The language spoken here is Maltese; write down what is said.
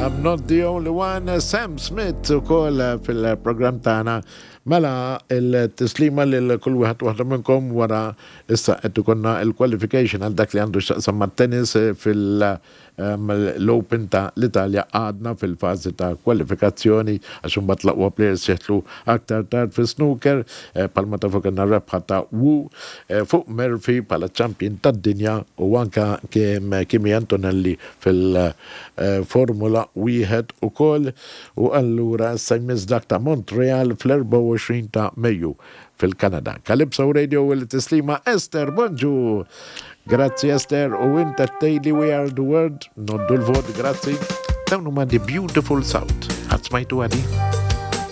I'm not the only one, Sam Smith ukoll fil-programm tagħna. Mela il-tislima lil kull wieħed waħda minnkom wara issa qed ikollna il-qualification għal dak li għandu x'taqsam mat-tennis fil- L-Open ta' l-Italja għadna fil-fażi ta' kwalifikazzjoni għax imbagħad l-aqwa players jidħlu aktar tard fis-snooker. Bħalma tafu kellna r-rebħa ta' Wu fuq Murphy bħala champion tad-dinja u anke Kimi Antonelli fil-Formula Wieħed ukoll. U allura issa jmiss dak ta' Montreal fl-24 ta' Mejju fil-Kanada. Calypso Radio u l-tislima Esther, bonġu! Grazzi Esther u int qed tgħidli we are the world, noddu l-vot, grazzi. Dawn huma The Beautiful South. Qatt smajtu għadi?